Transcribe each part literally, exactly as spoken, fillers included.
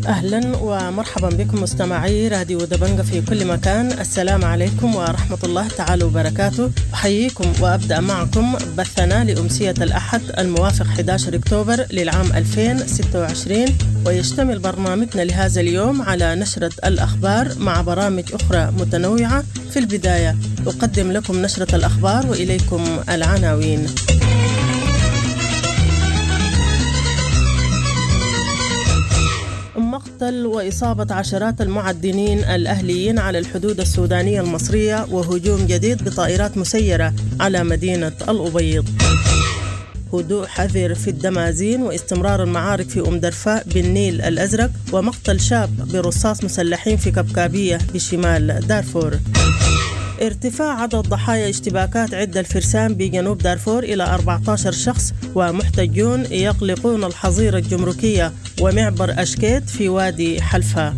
أهلا ومرحبا بكم مستمعي راديو دبنجة في كل مكان. السلام عليكم ورحمة الله تعالى وبركاته. أحييكم وأبدأ معكم بثنا لأمسية الأحد الموافق أحد عشر أكتوبر للعام ألفين وستة وعشرين، ويشتمل برنامجنا لهذا اليوم على نشرة الأخبار مع برامج أخرى متنوعة. في البداية أقدم لكم نشرة الأخبار وإليكم العناوين. مقتل وإصابة عشرات المعدنين الأهليين على الحدود السودانية المصرية وهجوم جديد بطائرات مسيرة على مدينة الأبيض. هدوء حذر في الدمازين واستمرار المعارك في أم درفاء بالنيل الأزرق، ومقتل شاب برصاص مسلحين في كبكابية بشمال دارفور. ارتفاع عدد ضحايا اشتباكات عدة الفرسان بجنوب دارفور إلى أربعة عشر شخص، ومحتجون يقلقون الحظيرة الجمركية ومعبر أشكيت في وادي حلفا.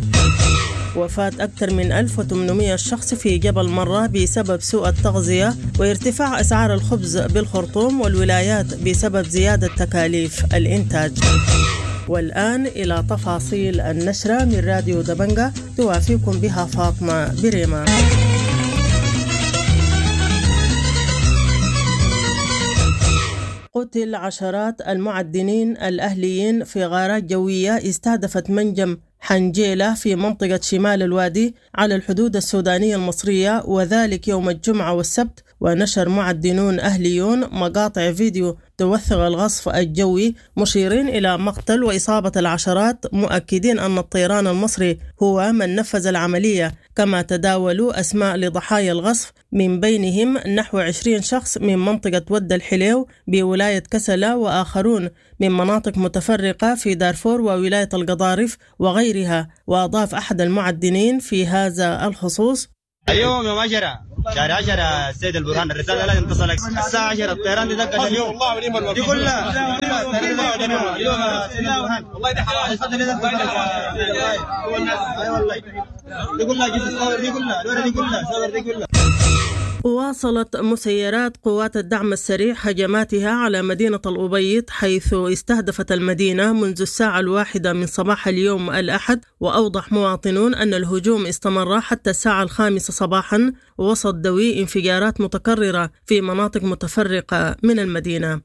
وفاة أكثر من ألف وثمانمئة شخص في جبل مرة بسبب سوء التغذية، وارتفاع أسعار الخبز بالخرطوم والولايات بسبب زيادة تكاليف الإنتاج. والآن إلى تفاصيل النشرة من راديو دبنجة توافيكم بها فاطمة بريمة. قتل عشرات المعدنين الأهليين في غارات جوية استهدفت منجم حنجيلة في منطقة شمال الوادي على الحدود السودانية المصرية، وذلك يوم الجمعة والسبت. ونشر معدنون أهليون مقاطع فيديو توثق الغصف الجوي، مشيرين إلى مقتل وإصابة العشرات، مؤكدين أن الطيران المصري هو من نفذ العملية. كما تداولوا أسماء لضحايا الغصف، من بينهم نحو عشرين شخص من منطقة ود الحليو بولاية كسلة، وآخرون من مناطق متفرقة في دارفور وولاية القضارف وغيرها. وأضاف أحد المعدنين في هذا الخصوص: اليوم يوم عشرة شهر عشرة السيد البرهان الرسالة لازم تصلك الساعة عشرة، الطيران دي دقت اليوم دي كلها اليوم والله دي حرام دي كلها جيت الصور دي كلها الورقة دي كلها الصور دي كلها. واصلت مسيرات قوات الدعم السريع هجماتها على مدينة الأبيض، حيث استهدفت المدينة منذ الساعة الواحدة من صباح اليوم الأحد. وأوضح مواطنون أن الهجوم استمر حتى الساعة الخامسة صباحا وسط دوي انفجارات متكررة في مناطق متفرقة من المدينة.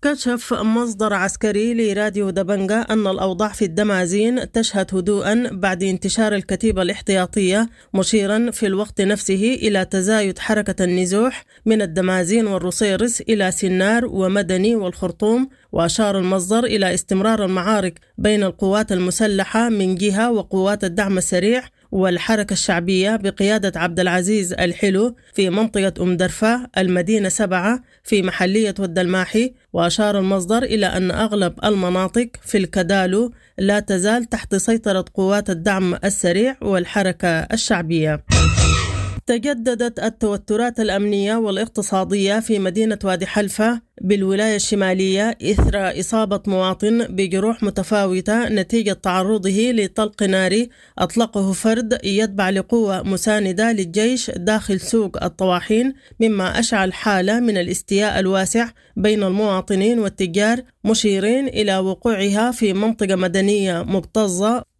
كشف مصدر عسكري لراديو دبنجة أن الأوضاع في الدمازين تشهد هدوءا بعد انتشار الكتيبة الاحتياطية، مشيرا في الوقت نفسه إلى تزايد حركة النزوح من الدمازين والرصيرس إلى سنار ومدني والخرطوم. وأشار المصدر إلى استمرار المعارك بين القوات المسلحة من جهة وقوات الدعم السريع والحركة الشعبية بقيادة عبد العزيز الحلو في منطقة أم درفة المدينة سبعة في محلية ود الماحي. وأشار المصدر إلى أن أغلب المناطق في الكدالو لا تزال تحت سيطرة قوات الدعم السريع والحركة الشعبية. تجددت التوترات الأمنية والاقتصادية في مدينة وادي حلفة بالولاية الشمالية إثر إصابة مواطن بجروح متفاوتة نتيجة تعرضه لطلق ناري أطلقه فرد يتبع لقوة مساندة للجيش داخل سوق الطواحين، مما أشعل حالة من الاستياء الواسع بين المواطنين والتجار، مشيرين إلى وقوعها في منطقة مدنية مكتظة.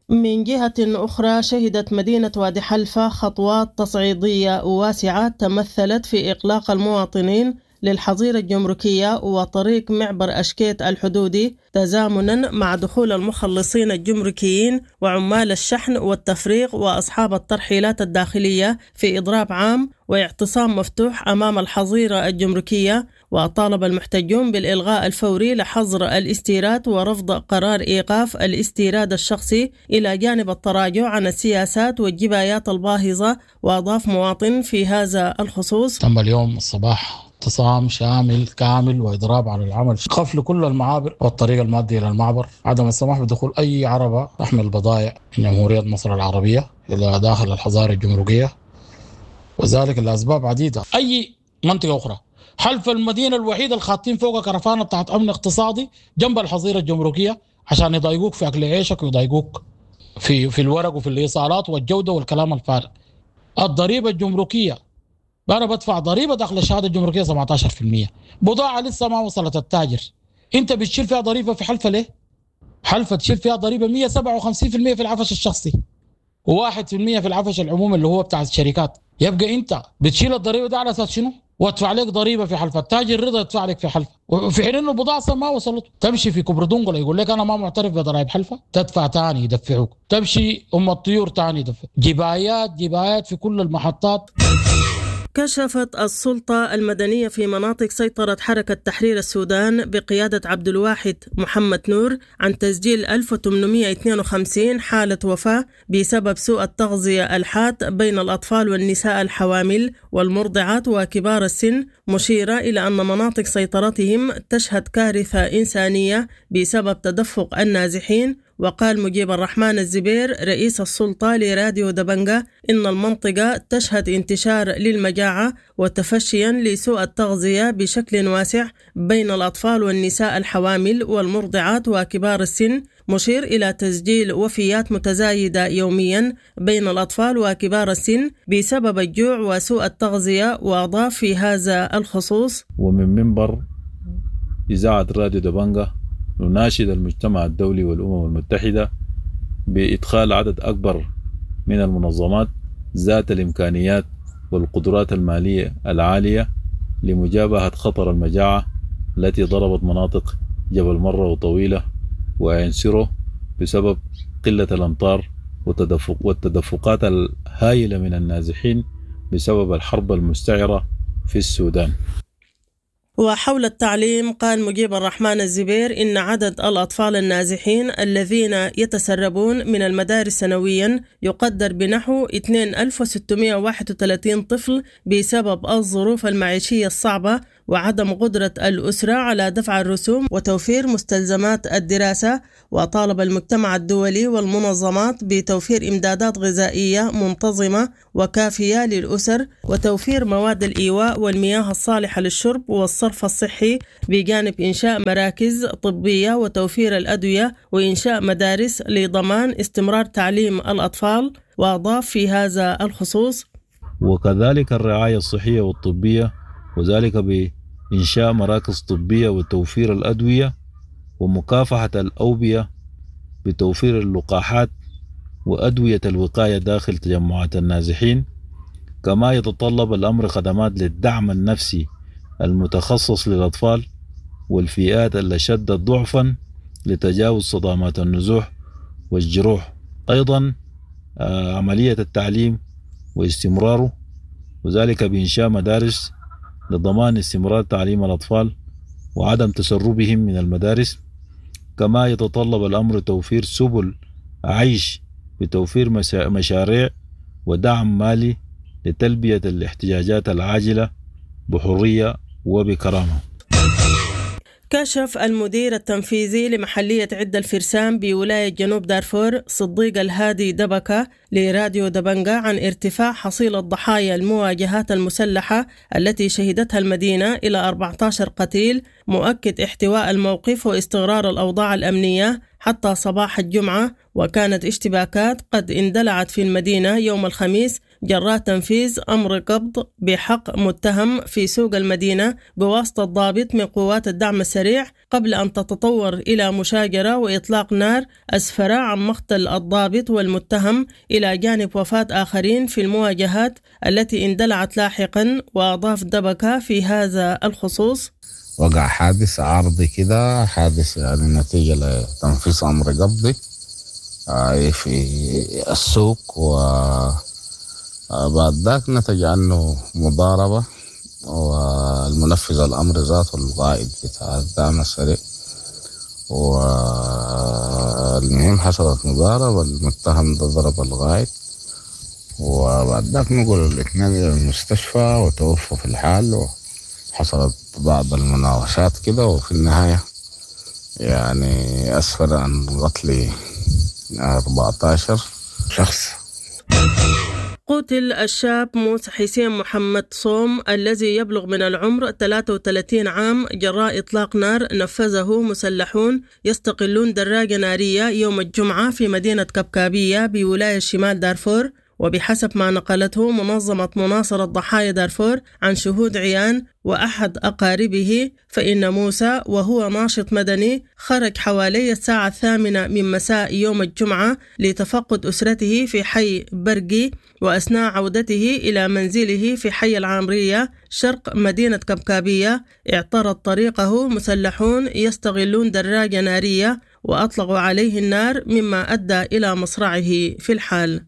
من جهة أخرى، شهدت مدينة وادي حلفة خطوات تصعيدية واسعة تمثلت في إغلاق المواطنين للحظيرة الجمركية وطريق معبر أشكيت الحدودي، تزامنا مع دخول المخلصين الجمركيين وعمال الشحن والتفريغ وأصحاب الترحيلات الداخلية في إضراب عام واعتصام مفتوح أمام الحظيرة الجمركية. وطالب المحتجون بالإلغاء الفوري لحظر الاستيراد ورفض قرار إيقاف الاستيراد الشخصي، إلى جانب التراجع عن السياسات والجبايات الباهظة. وأضاف مواطن في هذا الخصوص: تم اليوم الصباح اعتصام شامل كامل وإضراب على العمل، قفل كل المعابر والطريق المادي إلى المعبر، عدم السماح بدخول أي عربة تحمل بضائع من جمهورية مصر العربية إلى داخل الحظائر الجمركية، وذلك لأسباب عديدة. أي منطقة أخرى حلف المدينة الوحيدة الخاطين فوق كرفانة بتاعت أمن اقتصادي جنب الحظيرة الجمركية عشان يضايقوك في أكل عيشك ويضايقوك في في الورق وفي الإيصالات والجودة والكلام الفارغ. الضريبة الجمركية أنا بدفع ضريبة داخل الشهادة الجمركية سبعة عشر بالمئة، بضاعة لسه ما وصلت التاجر، أنت بتشيل فيها ضريبة في حلفة ليه؟ حلفة تشيل فيها ضريبة مية وسبعة وخمسين في المية في العفش الشخصي وواحد في المية في العفش العمومي اللي هو بتاع الشركات. يبقى انت بتشيل الضريبة ده على اساس شنو؟ وادفع لك ضريبة في حلفة، تاجر رضا يدفع لك في حلفة، وفي حين انه البضاعة اصلا ما وصلت. تمشي في كوبري دنقله يقول لك انا ما معترف بضرائب حلفة، تدفع ثاني يدفعوك. تمشي ام الطيور ثاني يدفع. جبايات جبايات في كل المحطات. كشفت السلطة المدنية في مناطق سيطرة حركة تحرير السودان بقيادة عبد الواحد محمد نور عن تسجيل ألف وثمانمائة واثنين وخمسين حالة وفاة بسبب سوء التغذية الحاد بين الأطفال والنساء الحوامل والمرضعات وكبار السن، مشيرة إلى أن مناطق سيطرتهم تشهد كارثة إنسانية بسبب تدفق النازحين. وقال مجيب الرحمن الزبير رئيس السلطة لراديو دبنجة إن المنطقة تشهد انتشار للمجاعة وتفشيا لسوء التغذية بشكل واسع بين الأطفال والنساء الحوامل والمرضعات وكبار السن، مشير إلى تسجيل وفيات متزايدة يوميا بين الأطفال وكبار السن بسبب الجوع وسوء التغذية. وأضاف في هذا الخصوص: ومن منبر إذاعة راديو دبنجة نناشد المجتمع الدولي والأمم المتحدة بإدخال عدد أكبر من المنظمات ذات الإمكانيات والقدرات المالية العالية لمجابهة خطر المجاعة التي ضربت مناطق جبل مرة وطويلة وعنسره بسبب قلة الأمطار وتدفق والتدفقات الهائلة من النازحين بسبب الحرب المستعرة في السودان. وحول التعليم قال مجيب الرحمن الزبير إن عدد الأطفال النازحين الذين يتسربون من المدارس سنويا يقدر بنحو اثنين ألف وستمائة وواحد وثلاثين طفل بسبب الظروف المعيشية الصعبة وعدم قدرة الأسرة على دفع الرسوم وتوفير مستلزمات الدراسة. وطالب المجتمع الدولي والمنظمات بتوفير إمدادات غذائية منتظمة وكافية للأسر وتوفير مواد الإيواء والمياه الصالحة للشرب والصرف الصحي، بجانب إنشاء مراكز طبية وتوفير الأدوية وإنشاء مدارس لضمان استمرار تعليم الأطفال. وأضاف في هذا الخصوص: وكذلك الرعاية الصحية والطبية، وذلك بإنشاء مراكز طبية وتوفير الأدوية ومكافحة الأوبئة بتوفير اللقاحات وأدوية الوقاية داخل تجمعات النازحين. كما يتطلب الأمر خدمات للدعم النفسي المتخصص للأطفال والفئات الأشد ضعفا لتجاوز صدمات النزوح والجروح. أيضا عملية التعليم واستمراره، وذلك بإنشاء مدارس لضمان استمرار تعليم الأطفال وعدم تسربهم من المدارس. كما يتطلب الأمر توفير سبل عيش بتوفير مشاريع ودعم مالي لتلبية الاحتياجات العاجلة بحرية وبكرامة. كشف المدير التنفيذي لمحلية عدة الفرسان بولاية جنوب دارفور صديق الهادي دبكة لراديو دبنجا عن ارتفاع حصيلة ضحايا المواجهات المسلحة التي شهدتها المدينة إلى أربعة عشر قتيل، مؤكد احتواء الموقف واستقرار الأوضاع الأمنية حتى صباح الجمعة. وكانت اشتباكات قد اندلعت في المدينة يوم الخميس جراء تنفيذ أمر قبض بحق متهم في سوق المدينة بواسطة ضابط من قوات الدعم السريع قبل أن تتطور إلى مشاجرة وإطلاق نار أسفر عن مقتل الضابط والمتهم إلى جانب وفاة آخرين في المواجهات التي اندلعت لاحقا. وأضاف دبكة في هذا الخصوص: وقع حادث عارضي كده، حادث يعني نتيجة لتنفيذ أمر قبضي في السوق، وبعد ذاك نتج عنه مضاربة، والمنفذ الأمر ذاته القائد بتاع الدعم السريع، والمهم حصلت مضاربة، المتهم ده ضرب القائد، وبعد ذاك نقل الاثنين إلى المستشفى وتوفوا في الحال، وحصلت بعض المناوشات كده، وفي النهاية يعني أسفر عن قتل أربعة عشر شخص. قتل الشاب موسى حسين محمد صوم الذي يبلغ من العمر ثلاثة وثلاثين عام جراء إطلاق نار نفذه مسلحون يستقلون دراجة نارية يوم الجمعة في مدينة كبكابية بولاية شمال دارفور. وبحسب ما نقلته منظمة مناصرة ضحايا دارفور عن شهود عيان وأحد أقاربه، فإن موسى وهو ناشط مدني خرج حوالي الساعة الثامنة من مساء يوم الجمعة لتفقد أسرته في حي برقي، وأثناء عودته إلى منزله في حي العامرية شرق مدينة كبكابية اعترض طريقه مسلحون يستغلون دراجة نارية وأطلقوا عليه النار، مما أدى إلى مصرعه في الحال.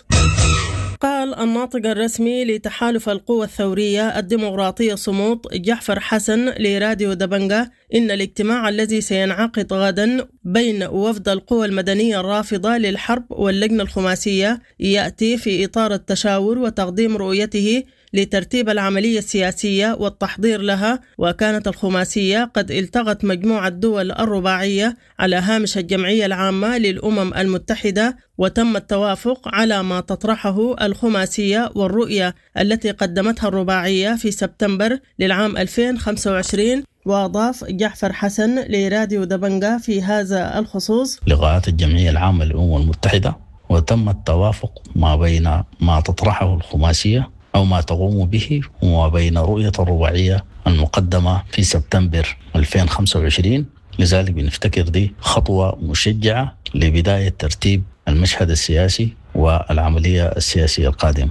قال الناطق الرسمي لتحالف القوى الثورية الديمقراطية صمود جعفر حسن لراديو دبنجة إن الاجتماع الذي سينعقد غدا بين وفد القوى المدنية الرافضة للحرب واللجنة الخماسية يأتي في إطار التشاور وتقديم رؤيته لترتيب العملية السياسية والتحضير لها. وكانت الخماسية قد التقت مجموعة دول الرباعية على هامش الجمعية العامة للأمم المتحدة، وتم التوافق على ما تطرحه الخماسية والرؤية التي قدمتها الرباعية في سبتمبر للعام ألفين وخمسة وعشرين. وأضاف جعفر حسن لراديو دبنجة في هذا الخصوص: لقاءات الجمعية العامة للأمم المتحدة وتم التوافق ما بين ما تطرحه الخماسية أو ما تقوم به وما بين رؤية الرباعية المقدمة في سبتمبر ألفين وخمسة وعشرين. لذلك بنفتكر دي خطوة مشجعة لبداية ترتيب المشهد السياسي والعملية السياسية القادمة.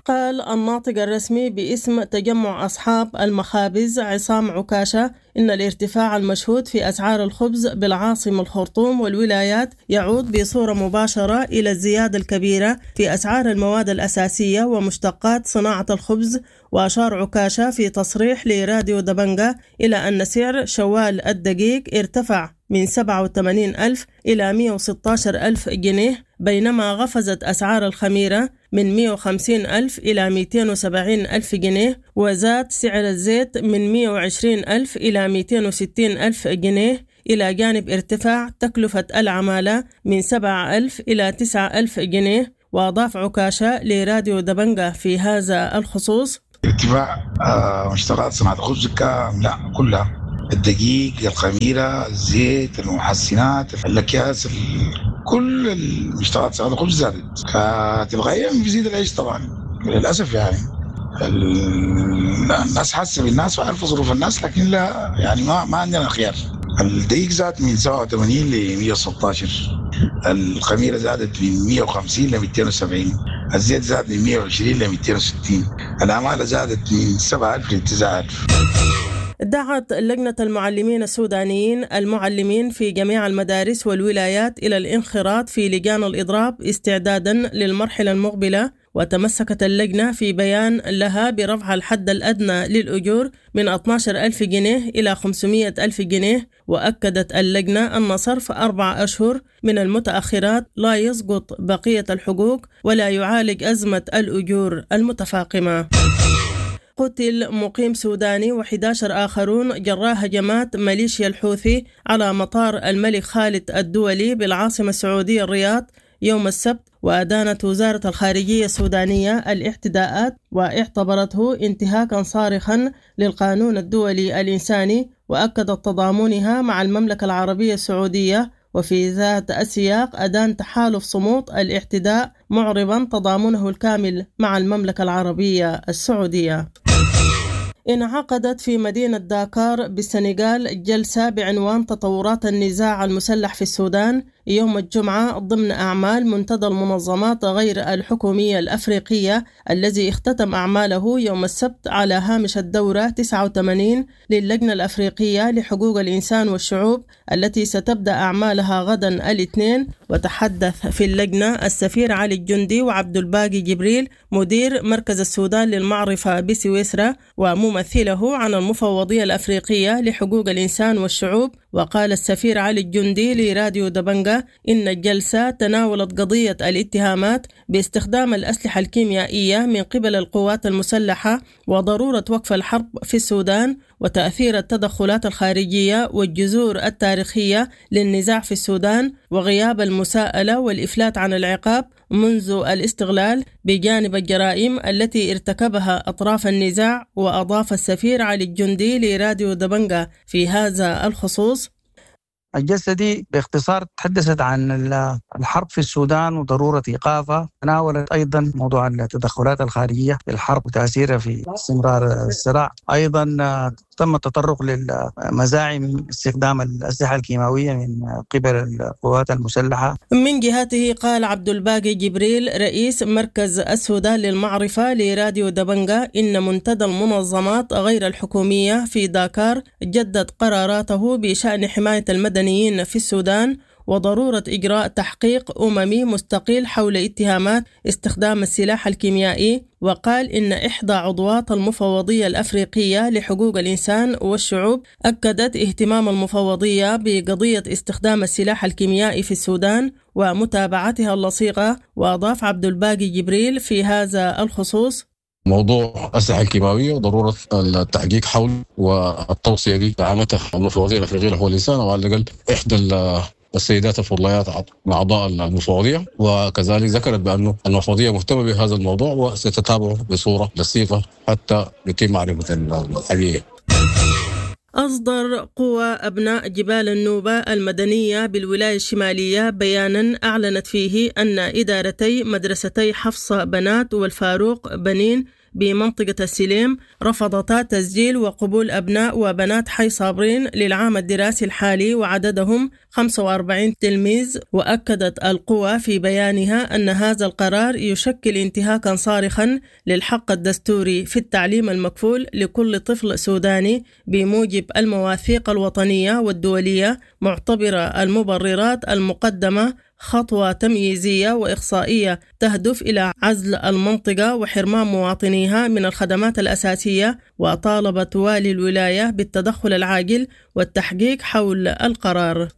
قال الناطق الرسمي باسم تجمع أصحاب المخابز عصام عكاشة إن الارتفاع المشهود في أسعار الخبز بالعاصمة الخرطوم والولايات يعود بصورة مباشرة إلى الزيادة الكبيرة في أسعار المواد الأساسية ومشتقات صناعة الخبز. وأشار عكاشة في تصريح لراديو دبنجة إلى أن سعر شوال الدقيق ارتفع من سبعة وثمانين ألف إلى مئة وستة عشر ألف جنيه، بينما قفزت أسعار الخميرة من مئة وخمسين ألف إلى مئتين وسبعين ألف جنيه، وزاد سعر الزيت من مئة وعشرين ألف إلى مئتين وستين ألف جنيه، إلى جانب ارتفاع تكلفة العمالة من سبعة ألف إلى تسعة ألف جنيه. وأضاف عكاشة لراديو دبنجة في هذا الخصوص: ارتفاع مشتقات صناعة الخبز كاملة كلها، الدقيق، الخميرة، الزيت، المحسنات، الأكياس، كل المشتقات صناعة الخبز زادت. فتلقائيا بيزيد العيش طبعا للأسف. يعني الناس حاسة بالناس وعارفة ظروف الناس، لكن لا يعني ما ما عندنا خيار. الدقيق زاد من سبعة وثمانين ل مئة وستة عشر، الخميرة زادت من مئة وخمسين ل مئتين وسبعين، الزيت زاد من مئة وعشرين ل مئتين وستين، العمالة زادت من سبعة ألف ل تسعة ألف. دعت لجنة المعلمين السودانيين المعلمين في جميع المدارس والولايات إلى الانخراط في لجان الإضراب استعدادا للمرحلة المقبلة. وتمسكت اللجنة في بيان لها برفع الحد الأدنى للأجور من اثني عشر ألف جنيه إلى خمسمائة ألف جنيه. وأكدت اللجنة أن صرف أربع أشهر من المتأخرات لا يسقط بقية الحقوق ولا يعالج أزمة الأجور المتفاقمة. قتل مقيم سوداني وأحد عشر آخرون جراء هجمات ميليشيا الحوثي على مطار الملك خالد الدولي بالعاصمة السعودية الرياض يوم السبت. وأدانت وزارة الخارجية السودانية الاعتداءات واعتبرته انتهاكا صارخا للقانون الدولي الإنساني، وأكدت تضامنها مع المملكة العربية السعودية. وفي ذات السياق أدان تحالف صمود الاعتداء معربا تضامنه الكامل مع المملكة العربية السعودية. انعقدت في مدينة داكار بالسنغال جلسة بعنوان تطورات النزاع المسلح في السودان يوم الجمعة ضمن أعمال منتدى المنظمات غير الحكومية الأفريقية الذي اختتم أعماله يوم السبت على هامش الدورة تسعة وثمانين للجنة الأفريقية لحقوق الإنسان والشعوب التي ستبدأ أعمالها غدا الاثنين. وتحدث في اللجنة السفير علي الجندي وعبد الباقي جبريل مدير مركز السودان للمعرفة بسويسرا وممثله عن المفوضية الأفريقية لحقوق الإنسان والشعوب. وقال السفير علي الجندي لراديو دبنجة إن الجلسة تناولت قضية الاتهامات باستخدام الأسلحة الكيميائية من قبل القوات المسلحة وضرورة وقف الحرب في السودان وتأثير التدخلات الخارجية والجذور التاريخية للنزاع في السودان وغياب المساءلة والإفلات عن العقاب منذ الاستغلال بجانب الجرائم التي ارتكبها أطراف النزاع. وأضاف السفير علي الجندي لراديو دبنجة في هذا الخصوص: الجلسة دي باختصار تحدثت عن الحرب في السودان وضرورة إيقافها، تناولت أيضا موضوع التدخلات الخارجية في الحرب وتأثيرها في استمرار الصراع. أيضا تم التطرق للمزاعم استخدام الأسلحة الكيماوية من قبل القوات المسلحة. من جهته قال عبد الباقي جبريل رئيس مركز السودان للمعرفة لراديو دبنجا إن منتدى المنظمات غير الحكومية في داكار جدد قراراته بشأن حماية المدنيين في السودان وضرورة إجراء تحقيق أممي مستقل حول اتهامات استخدام السلاح الكيميائي. وقال إن إحدى عضوات المفوضية الأفريقية لحقوق الإنسان والشعوب أكدت اهتمام المفوضية بقضية استخدام السلاح الكيميائي في السودان ومتابعتها اللصيقة. وأضاف عبد الباقي جبريل في هذا الخصوص: موضوع الأسلحة الكيماوية وضرورة التحقيق حول والتوصية دي دعمتها المفوضية الأفريقية لحقوق الإنسان، وعلى الأقل إحدى السيدات الفضليات من أعضاء المفوضية، وكذلك ذكرت بأنه المفوضية مهتمة بهذا الموضوع وستتابعه بصورة لصيقة حتى يتم معرفة الحقيقة. أصدر قوى أبناء جبال النوبة المدنية بالولاية الشمالية بيانا أعلنت فيه أن إدارتي مدرستي حفصة بنات والفاروق بنين بمنطقة السليم رفضتا تسجيل وقبول أبناء وبنات حي صابرين للعام الدراسي الحالي وعددهم خمسة وأربعين تلميذ. وأكدت القوى في بيانها أن هذا القرار يشكل انتهاكا صارخا للحق الدستوري في التعليم المكفول لكل طفل سوداني بموجب المواثيق الوطنية والدولية، معتبرة المبررات المقدمة خطوة تمييزية وإقصائية تهدف إلى عزل المنطقة وحرمان مواطنيها من الخدمات الأساسية. وطالبت والي الولاية بالتدخل العاجل والتحقيق حول القرار.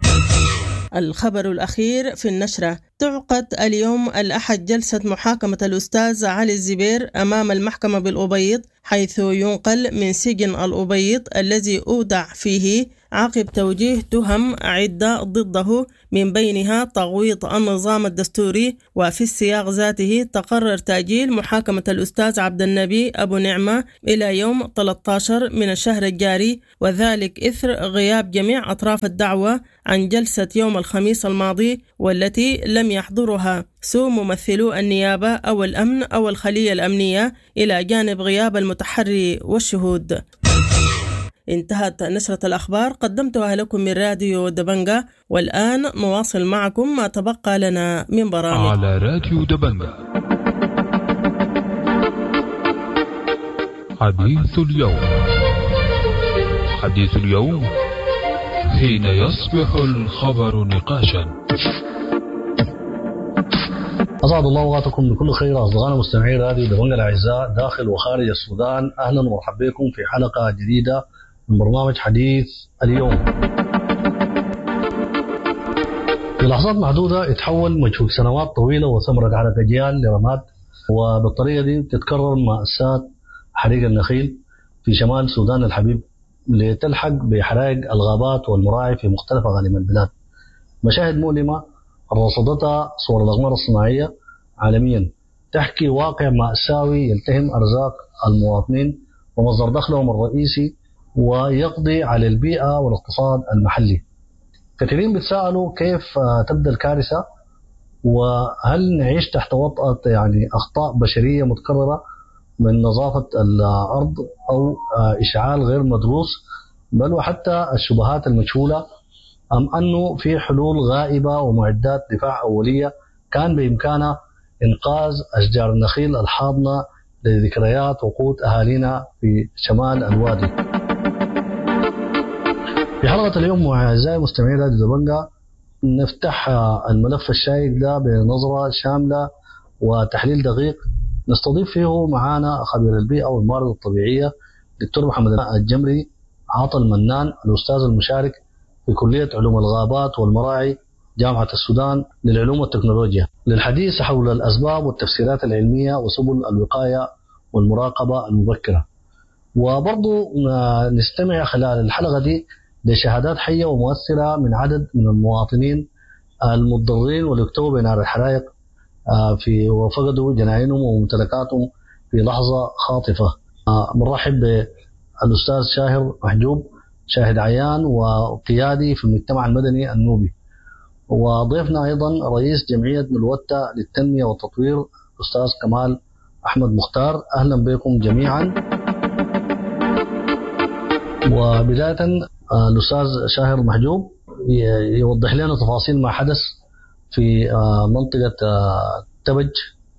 الخبر الأخير في النشرة: تعقد اليوم الأحد جلسة محاكمة الأستاذ علي الزبير أمام المحكمة بالأبيض، حيث ينقل من سجن الأبيض الذي أودع فيه عقب توجيه تهم عدة ضده من بينها تغويط النظام الدستوري. وفي السياق ذاته تقرر تأجيل محاكمة الأستاذ عبد النبي أبو نعمة إلى يوم ثلاثة عشر من الشهر الجاري، وذلك إثر غياب جميع أطراف الدعوة عن جلسة يوم الخميس الماضي والتي لم يحضرها سوء ممثلو النيابة أو الأمن أو الخلية الأمنية، إلى جانب غياب المتحري والشهود. انتهت نشرة الأخبار، قدمتها لكم من راديو دبنجا، والآن نواصل معكم ما تبقى لنا من برامج على راديو دبنجا. حديث اليوم، حديث اليوم حين يصبح الخبر نقاشا. أسعد الله أوقاتكم بكل خير أصدقائنا مستمعي راديو دبنجا الأعزاء داخل وخارج السودان، أهلا ومرحبا بكم في حلقة جديدة من برنامج حديث اليوم. في لحظات محدودة يتحول مجهود سنوات طويلة وثمرة عرق أجيال لرماد، وبالطريقة دي تتكرر مأساة حريق النخيل في شمال السودان الحبيب لتلحق بحرائق الغابات والمراعي في مختلف أقاليم البلاد. مشاهد مؤلمة رصدتها صور الأقمار الصناعية عالميا تحكي واقع مأساوي يلتهم أرزاق المواطنين ومصدر دخلهم الرئيسي ويقضي على البيئة والاقتصاد المحلي. كثيرين بيتساءلوا كيف تبدأ الكارثة، وهل نعيش تحت وطأة يعني أخطاء بشرية متكررة من نظافة الأرض أو إشعال غير مدروس، بل وحتى الشبهات المجهولة، أم أنه في حلول غائبة ومعدات دفاع أولية كان بإمكانها إنقاذ أشجار النخيل الحاضنة لذكريات وقوت أهالينا في شمال الوادي. في حلقة اليوم أعزائي مستمعي راديو دبنجا نفتح الملف الشائك ده بنظرة شاملة وتحليل دقيق نستضيف فيه معانا خبير البيئة والموارد الطبيعية دكتور محمد الجمري عاطى المنان، الأستاذ المشارك في كلية علوم الغابات والمراعي جامعة السودان للعلوم والتكنولوجيا، للحديث حول الأسباب والتفسيرات العلمية وسبل الوقاية والمراقبة المبكرة. وبرضو نستمع خلال الحلقة دي لشهادات حية ومؤثرة من عدد من المواطنين المتضررين واللي اكتووا بنار الحرائق في وفقدوا جناينهم وممتلكاتهم في لحظة خاطفة. بنرحب بالأستاذ شاهر محجوب شاهد عيان وقيادي في المجتمع المدني النوبي. وضيفنا أيضا رئيس جمعية نلوتة للتنمية والتطوير أستاذ كمال أحمد مختار. أهلا بكم جميعا. وبداية الأستاذ شاهر محجوب يوضح لنا تفاصيل ما حدث في منطقة تبج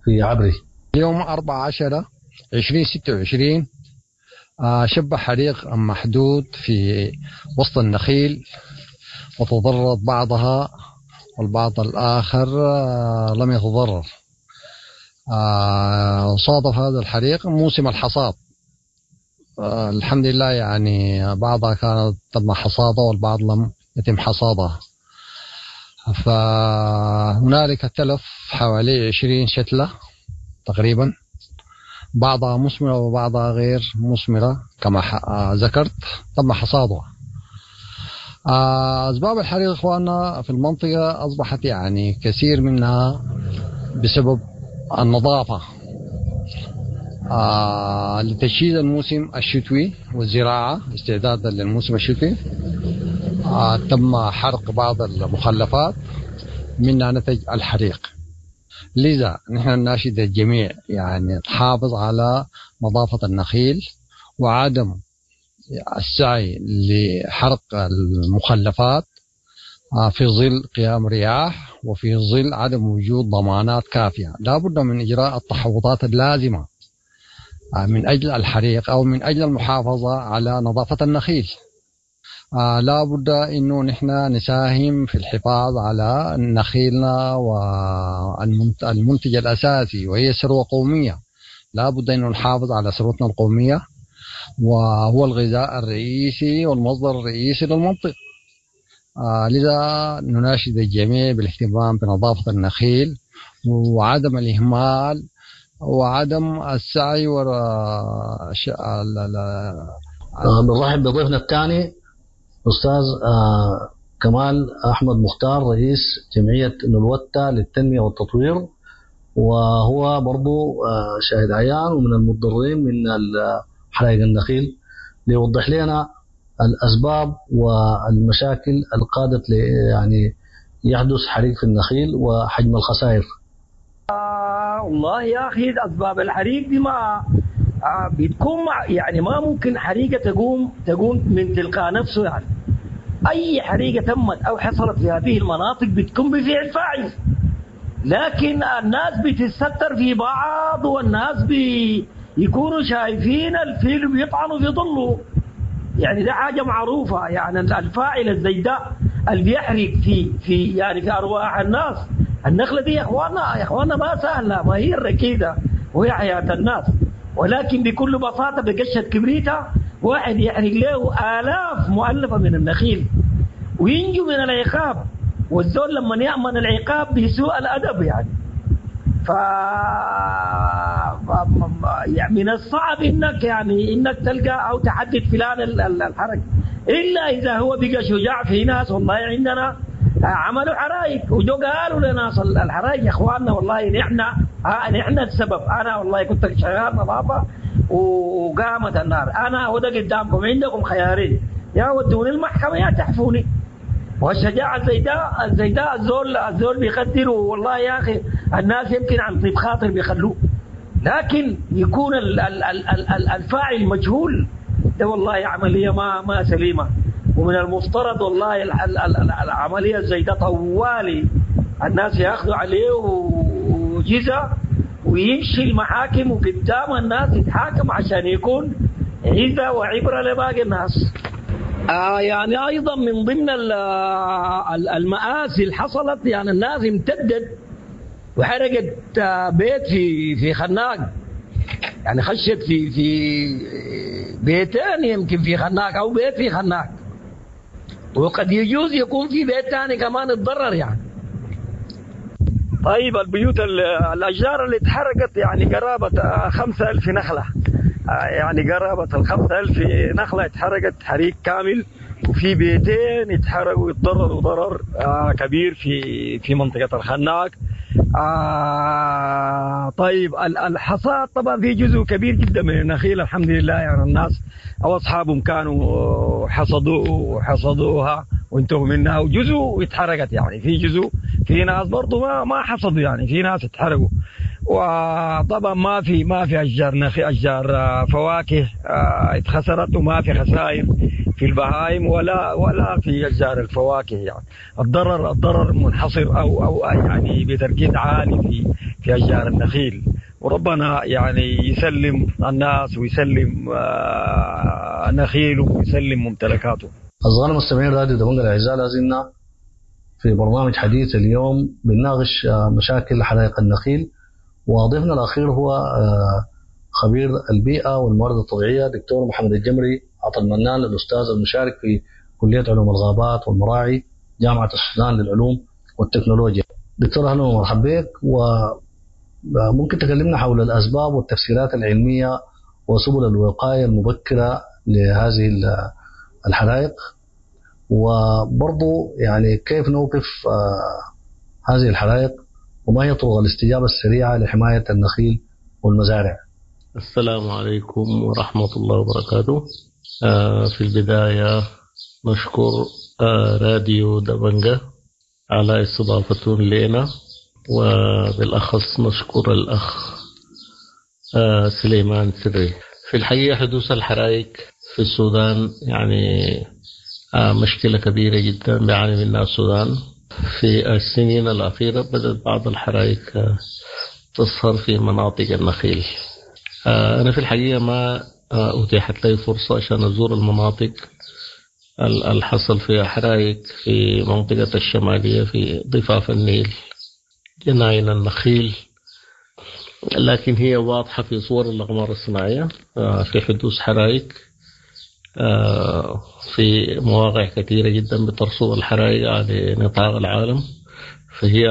في عبري. اليوم أربعة عشر عشرين ستة وعشرين شب حريق محدود في وسط النخيل وتضررت بعضها والبعض الآخر لم يتضرر. صادف هذا الحريق موسم الحصاد، الحمد لله يعني بعضها كانت تم حصاده والبعض لم يتم حصادها، فهنالك تلف حوالي عشرين شتلة تقريبا، بعضها مثمرة وبعضها غير مثمرة كما ذكرت تم حصادها. أسباب الحريق إخواننا في المنطقة أصبحت يعني كثير منها بسبب النظافة، آه لتجهيز الموسم الشتوي والزراعة استعدادا للموسم الشتوي. آه تم حرق بعض المخلفات منها نتج الحريق. لذا نحن نناشد الجميع يعني تحافظ على نظافة النخيل وعدم السعي لحرق المخلفات في ظل قيام رياح وفي ظل عدم وجود ضمانات كافية. لا بد من إجراء التحوطات اللازمة من أجل الحريق أو من أجل المحافظة على نظافة النخيل. لا بد أنه نحن نساهم في الحفاظ على نخيلنا والمنتج الأساسي وهي ثروة قومية. لا بد أنه نحافظ على ثروتنا القومية وهو الغذاء الرئيسي والمصدر الرئيسي للمنطقة. آه لذا نناشد الجميع بالاهتمام بنظافة النخيل وعدم الإهمال وعدم السعي وراء ش... بنرحب بضيفنا الثاني أستاذ آه كمال أحمد مختار رئيس جمعية نلوتة للتنمية والتطوير، وهو برضو آه شاهد عيان ومن المتضررين من حرائق النخيل، ليوضح لنا الأسباب والمشاكل القادت يعني يحدث حريق في النخيل وحجم الخسائر. آه والله يا أخي أسباب الحريق دي ما آه بتكون يعني ما ممكن حريقة تقوم تقوم من تلقاء نفسه. يعني أي حريقة تمت أو حصلت في هذه المناطق بتكون بفعل فاعل، لكن الناس بتستر في بعض والناس بيكونوا شايفين الفيل بيطعنوا في ظله. يعني ده حاجة معروفة، يعني الفاعل الزي ده اللي بيحرق في في يعني في أرواح الناس. النخلة دي يا إخواننا يا إخواننا ما سهلة، ما هي الركيدة وهي حياة الناس، ولكن بكل بساطة بقشة كبريتة واحد يحرق له آلاف مؤلفة من النخيل وينجو من العقاب. والزول لما يأمن العقاب بسوء الأدب يعني ف يعني من الصعب انك يعني انك تلقى او تحدد فلان الحرق الا اذا هو بقى شجاع. في ناس والله عندنا عملوا حرائق وجو قالوا لناس الحرائق يا اخواننا والله نحن نحن السبب، انا والله كنت شغال نظافه وقامت النار، انا وده قدامكم عندكم خيارين، يا ودوني المحكمه يا تحفوني. والشجاعة زي ده زي ده الزول الزول بيقدره والله يا أخي. الناس يمكن عن طيب خاطر بيخلوه، لكن يكون ال ال ال ال الفاعل مجهول، ده والله عملية ما ما سليمة. ومن المفترض والله ال ال ال العملية زي ده طوالي الناس ياخذوا عليه وجزء ويمشي المحاكم وقدام الناس يتحاكم عشان يكون عزة وعبرة لباقي الناس. آه يعني ايضا من ضمن المآسي اللي حصلت، يعني الناس امتدت وحرقت بيت في في خناق، يعني خشت في في بيتين يمكن في خناق او بيت في خناق، وقد يجوز يكون في بيت ثاني كمان اتضرر يعني. طيب البيوت الاشجار اللي اتحرقت يعني قرابه خمسة ألف نخله، يعني قرابة الخمسة ألف نخلة اتحرقت حريق كامل، وفي بيتين اتحرقوا واتضرروا ضرر كبير في في منطقة الخناق. آه طيب الحصاد طبعا في جزء كبير جدا من النخيل الحمد لله، يعني الناس او اصحابهم كانوا حصدوا حصدوها وانتهوا منها، وجزء اتحرقت، يعني في جزء في ناس برضه ما ما حصدوا، يعني في ناس اتحرقوا. وطبعا ما في ما في اشجار نخي اشجار فواكه اتخسرت، وما في خسائر في البهائم ولا ولا في اشجار الفواكه. يعني الضرر الضرر منحصر او او يعني بتركيز عالي في في اشجار النخيل. وربنا يعني يسلم الناس ويسلم نخيله ويسلم ممتلكاته. أصدقائنا المستمعين راديو دبنجة الأعزاء، لازلنا في برنامج حديث اليوم بنناقش مشاكل حرائق النخيل، وضيفنا الأخير هو خبير البيئة والموارد الطبيعية دكتور محمد الجمري عطا المنان، الأستاذ المشارك في كلية علوم الغابات والمراعي جامعة السودان للعلوم والتكنولوجيا. دكتور أهلا ومرحبا بك، وممكن تكلمنا حول الأسباب والتفسيرات العلمية وسبل الوقاية المبكرة لهذه الحرائق، وبرضو يعني كيف نوقف هذه الحرائق، وما هي طرق الاستجابة السريعة لحماية النخيل والمزارع؟ السلام عليكم ورحمة الله وبركاته. آه في البداية نشكر آه راديو دبنجة على استضافتهم لنا، وبالأخص نشكر الأخ آه سليمان سري. في الحقيقة حدوث الحرائق في السودان يعني آه مشكلة كبيرة جدا بيعاني منها السودان. في السنين الأخيرة بدأت بعض الحرائق تظهر في مناطق النخيل. أنا في الحقيقة ما أتيحت لي فرصة عشان أزور المناطق اللي حصل فيها حرائق في منطقة الشمالية في ضفاف النيل جناين النخيل، لكن هي واضحة في صور الأقمار الصناعية في حدوث حرائق في مواقع كثيرة جدا بترصد الحرائق على نطاق العالم، فهي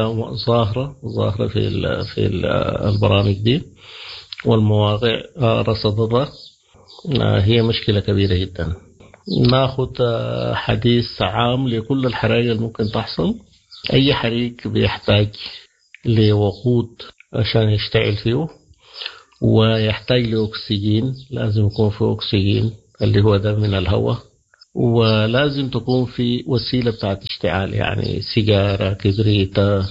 ظاهرة ظاهرة في في البرامج دي والمواقع رصدتها. هي مشكلة كبيرة جدا. ناخذ حديث عام لكل الحرائق اللي ممكن تحصل. أي حريق بيحتاج لوقود عشان يشتعل فيه، ويحتاج لأكسجين، لازم يكون فيه أكسجين اللي هو ده من الهواء، ولازم تكون في وسيلة بتاعت اشتعال، يعني سيجارة، كبريتة.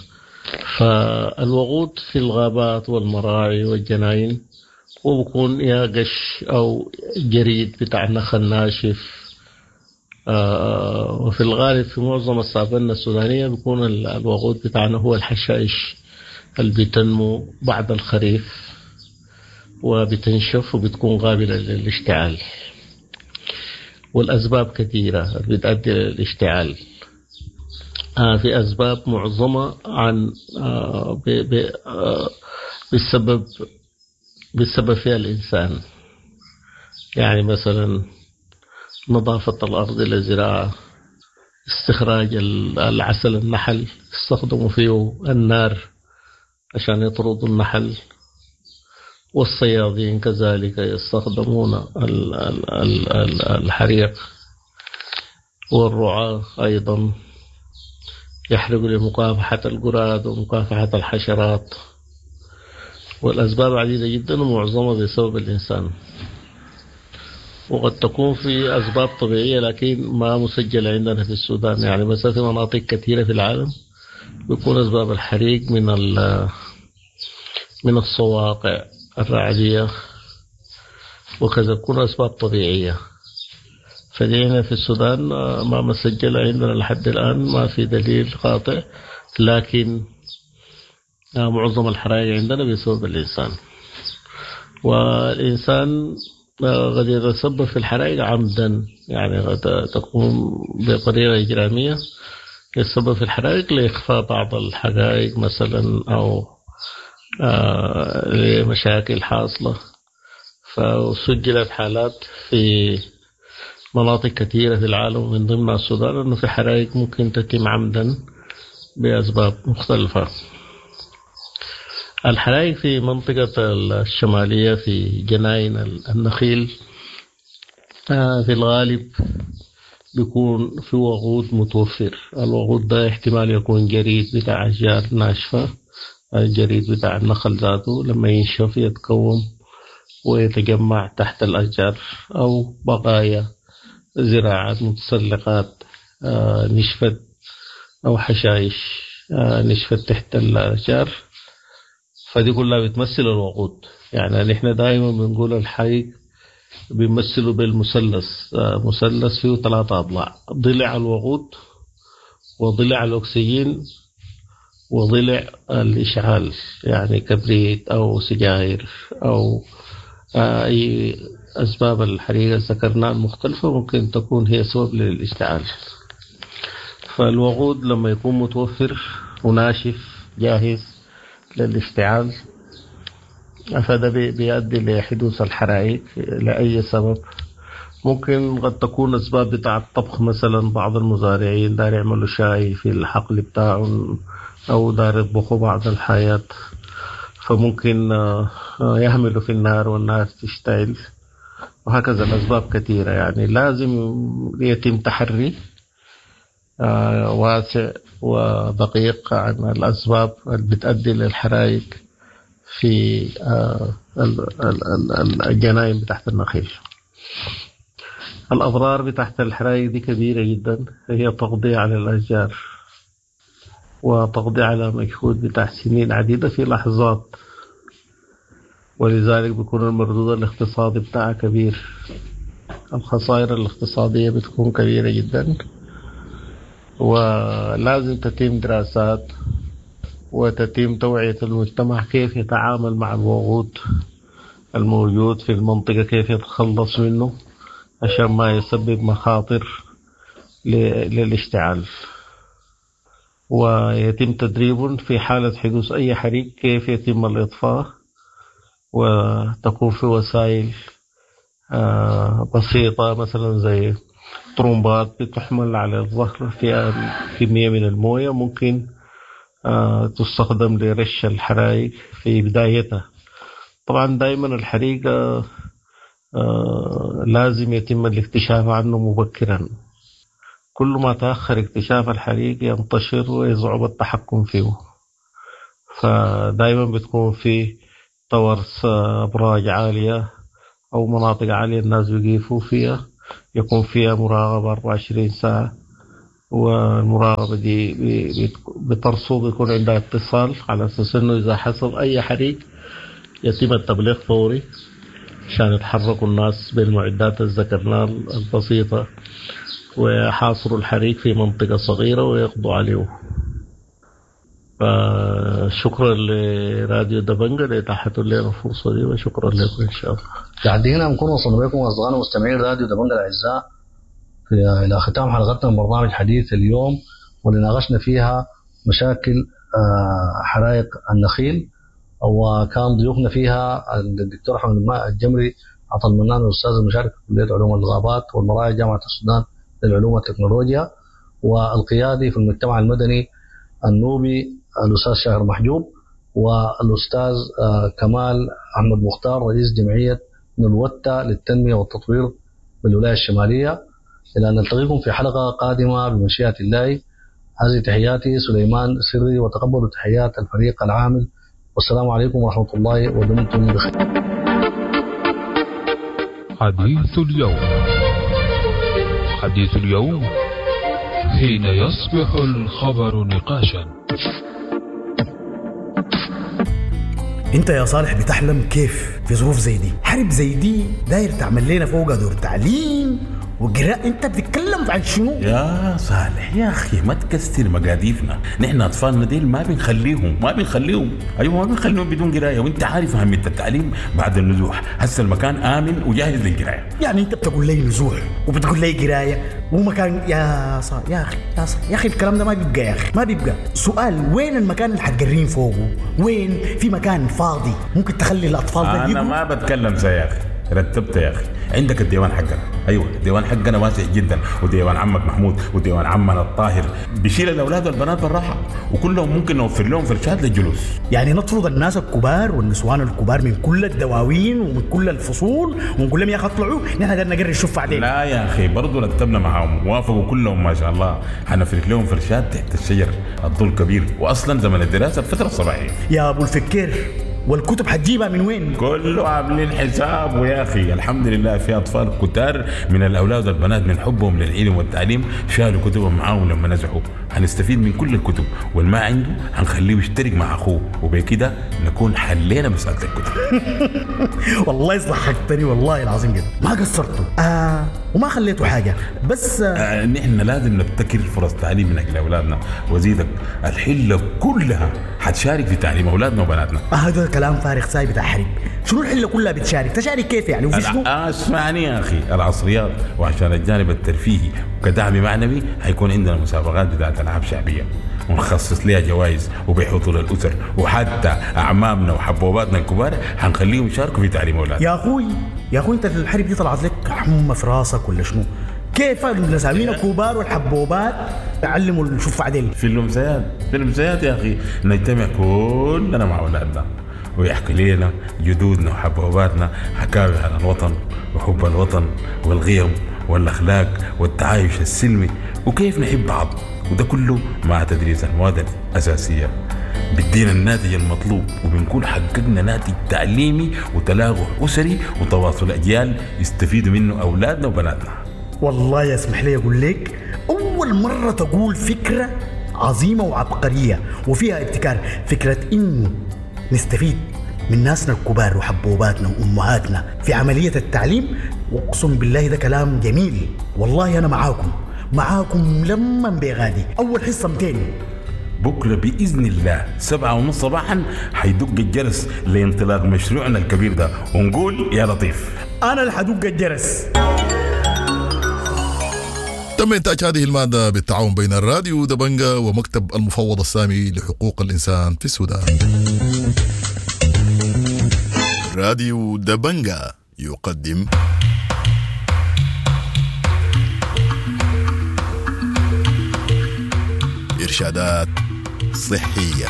فالوقود في الغابات والمراعي والجناين وبكون يا قش أو جريد بتاع نخل ناشف. آه وفي الغالب في معظم السافنة السودانية بيكون الوقود بتاعنا هو الحشائش اللي بتنمو بعد الخريف وبتنشف وبتكون قابلة للاشتعال. والأسباب كثيرة بتؤدي للاشتعال. آه في أسباب معظمها عن آه ب ب آه بسبب بسبب فيها الإنسان، يعني مثلا نظافة الأرض للزراعة، استخراج العسل النحل استخدموا فيه النار عشان يطردوا النحل، والصيادين كذلك يستخدمون الحريق، والرعاة أيضا يحرقوا لمكافحة القراد ومكافحة الحشرات. والأسباب عديدة جدا ومعظمها بسبب الإنسان، وقد تكون في أسباب طبيعية لكن ما مسجلة عندنا في السودان. يعني مثلا في مناطق كثيرة في العالم بيكون أسباب الحريق من من الصواقع الرعدية وكذا، تكون أسباب طبيعية. فدينا في السودان ما مسجلة عندنا لحد الآن، ما في دليل قاطع، لكن معظم الحرائق عندنا بسبب الإنسان. والإنسان قد يتسبب في الحرائق عمدا، يعني قد تقوم بطريقة إجرامية يتسبب في الحرائق لإخفاء بعض الحقائق مثلا، أو آه لمشاكل حاصلة. فسجلت حالات في مناطق كثيرة في العالم من ضمنها السودان أنه في حرائق ممكن تتم عمدا بأسباب مختلفة. الحرائق في منطقة الشمالية في جناين النخيل في الغالب بيكون في وقود متوفر. الوقود ده احتمال يكون جريد بتاع أشجار ناشفة الجريد بتاع النخل ذاته لما ينشف يتكوم ويتجمع تحت الأشجار، أو بقايا زراعات متسلقات آه، نشفت أو حشائش آه، نشفت تحت الأشجار، فدي كلها بتمثل الوقود. يعني نحن دائما بنقول الحريق بيمثله بالمثلث، آه، مثلث فيه ثلاثة أضلاع: ضلع الوقود، وضلع الأكسجين، وضلع الإشعال، يعني كبريت أو سجاير أو آه، أي أسباب الحريقة ذكرناها المختلفة ممكن تكون هي سبب للاشتعال. فالوقود لما يكون متوفر وناشف جاهز للاشتعال فده بيؤدي لحدوث الحرائق لأي سبب. ممكن قد تكون أسباب بتاع الطبخ، مثلا بعض المزارعين دار يعملوا شاي في الحقل بتاعهم أو دار يطبخوا بعض الحياة، فممكن يهملوا في النار والنار تشتعل، وهكذا الأسباب كثيرة. يعني لازم يتم تحري واسع ودقيق عن الأسباب اللي بتؤدي للحرائق في الجناين بتاعت النخيل. الأضرار بتاعت الحرائق دي كبيرة جدا، هي تقضي على الأشجار وتقضي على مجهود بتاع سنين عديدة في لحظات، ولذلك بيكون المردود الاقتصادي بتاعها كبير، الخسائر الاقتصادية بتكون كبيرة جدا، ولازم تتم دراسات وتتم توعية المجتمع كيف يتعامل مع الوقود الموجود في المنطقة، كيف يتخلص منه عشان ما يسبب مخاطر للاشتعال، ويتم تدريب في حالة حدوث أي حريق كيف يتم الإطفاء، وتكون في وسائل بسيطة مثلا زي طرمبات بتحمل على الظهر فيها كمية من الموية ممكن تستخدم لرش الحرائق في بدايتها. طبعا دائما الحريق لازم يتم الاكتشاف عنه مبكرا، كل ما تأخر اكتشاف الحريق ينتشر ويصعب التحكم فيه، فدائما بتكون في تورس أبراج عالية أو مناطق عالية الناس بيقيفوا فيها، يكون فيها مراقبة أربعة وعشرين ساعة، والمراقبة دي بترصد، يكون عندها اتصال على أساس إنه إذا حصل أي حريق يتم التبليغ فوري عشان يتحركوا الناس بالمعدات اللي ذكرناها البسيطة ويحاصروا الحريق في منطقة صغيرة ويقضوا عليه. فشكرا لراديو دبنجة لإتاحة لنا الفرصة دي، وشكرا لكم إن شاء الله. لحد هنا نكون وصلنا بكم أصدقائنا مستمعين راديو دبنجة الأعزاء في إلى ختام حلقتنا من برنامج حديث اليوم، واللي ناقشنا فيها مشاكل حرائق النخيل، وكان ضيوفنا فيها الدكتور أحمد الجمري عطا المنان الأستاذ المشارك في كلية علوم الغابات والمراعي جامعة السودان للعلوم والتكنولوجيا، والقيادي في المجتمع المدني النوبي الأستاذ شاهر محجوب، والأستاذ كمال أحمد مختار رئيس جمعية نلوتة للتنمية والتطوير بالولاية الشمالية. إلى أن نلتقيكم في حلقة قادمة بمشيئة الله. هذه تحياتي سليمان سري، وتقبلوا تحيات الفريق العامل، والسلام عليكم ورحمة الله، ودمتم بخير. حديث اليوم، حديث اليوم حين يصبح الخبر نقاشا. انت يا صالح بتحلم كيف في ظروف زي دي؟ حرب زي دي داير تعمل لنا فوق دور تعليم وقراءة، انت بتتكلم عن شنو؟ يا صالح يا اخي ما تكسر مقاديفنا، نحن اطفالنا ديل ما بنخليهم ما بنخليهم ايوه ما بنخليهم بدون قرايه، وانت عارف اهميه التعليم بعد النزوح. هسه المكان امن وجاهز للقرايه. يعني انت بتقول لي نزوح وبتقول لي قرايه ومكان؟ يا صالح يا اخي يا صالح يا اخي الكلام ده ما بيبقى يا اخي، ما بيبقى. سؤال، وين المكان اللي حتقرين فوقه؟ وين في مكان فاضي ممكن تخلي الاطفال ده؟ انا ما بتكلم زي يا اخي، رتبت يا اخي. عندك الديوان حقنا، ايوه الديوان حقنا واسع جدا، وديوان عمك محمود وديوان عمنا الطاهر بيشيل الاولاد والبنات بالراحه، وكلهم ممكن نوفر لهم فرشات للجلوس. يعني نطرد الناس الكبار والنسوان الكبار من كل الدواوين ومن كل الفصول ونقول لهم يا اخي اطلعوا، نحن قدرنا نقري الشوف بعدين. لا يا اخي برضه رتبنا معاهم، وافقوا كلهم ما شاء الله. حنفرش لهم فرشات تحت الشجر الظل كبير، واصلا زمن الدراسة الفترة الصباحية. يا ابو الفكير، والكتب حتجيبها من وين؟ كله عاملين حساب ويا اخي الحمد لله في اطفال كتار من الاولاد والبنات من حبهم للعلم والتعليم شالوا كتبهم معاهم لما نزحوا. هنستفيد من كل الكتب، والما عنده هنخليه يشترك مع اخوه، وبكده نكون حلينا مسالة الكتب. والله ضحكتني والله العظيم جدا، ما قصرتوا آه وما خليتوا حاجة. بس آه آه نحن لازم نبتكر فرص تعليم من اجل اولادنا، وزيدك الحلة كلها حتشارك في تعليم اولادنا وبناتنا. آه هذا كلام فارغ ساي بتاع حرب. شنو الحلة كلها بتشارك؟ تشارك كيف يعني؟ وفي شنو؟ آه اسمعني يا اخي، العصريات وعشان الجانب الترفيهي وكدعم معنوي حيكون عندنا مسابقات بتاعت العاب شعبية ونخصص لها جوائز وبحضور الاسر، وحتى اعمامنا وحبوباتنا الكبار حنخليهم يشاركوا في تعليم اولادنا. يا اخوي يا اخوي، انت الحرب دي طلعت لك حمى في راسك ولا شنو؟ كيف النسامين الكبار والحبوبات تعلموا الشوف عدل؟ في الامسيات، في الامسيات يا اخي نجتمع كلنا مع اولادنا ويحكي لنا جدودنا وحبوباتنا حكاوي عن الوطن وحب الوطن والقيم والاخلاق والتعايش السلمي وكيف نحب بعض، وده كله مع تدريس المواد الاساسية بيدينا الناتج المطلوب، وبنكون حققنا ناتج تعليمي وتلاقح اسري وتواصل اجيال يستفيدوا منه اولادنا وبناتنا. والله يسمح لي اقول لك، اول مرة تقول فكرة عظيمة وعبقريه وفيها ابتكار، فكرة انه نستفيد من ناسنا الكبار وحبوباتنا وامهاتنا في عملية التعليم. واقسم بالله ده كلام جميل، والله انا معاكم معاكم لما بغادي. اول حصة مئتين بكره باذن الله سبعة ونص صباحا حيدق الجرس لانطلاق مشروعنا الكبير ده، ونقول يا لطيف. انا اللي حدق الجرس. تم إنتاج هذه المادة بالتعاون بين الراديو دبنجا ومكتب المفوض السامي لحقوق الإنسان في السودان. راديو دبنجا يقدم إرشادات صحية،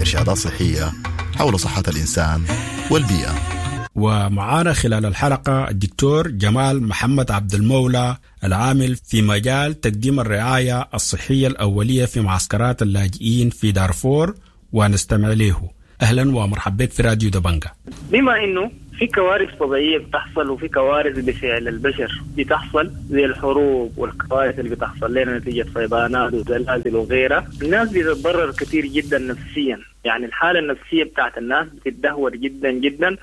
إرشادات صحية حول صحة الإنسان والبيئة. ومعانا خلال الحلقة الدكتور جمال محمد عبد المولى العامل في مجال تقديم الرعاية الصحية الأولية في معسكرات اللاجئين في دارفور، ونستمع له. أهلا ومرحبا بك في راديو دبنجا. بما إنه في كوارث طبيعية بتحصل وفي كوارث بفعل البشر بتحصل زي الحروب والكوارث اللي بتحصل لنا نتيجة فيضانات وزلازل وغيرها، الناس بتتضرر كثير جدا نفسيا، يعني الحالة النفسية بتاعت الناس بتتدهور جدا جدا،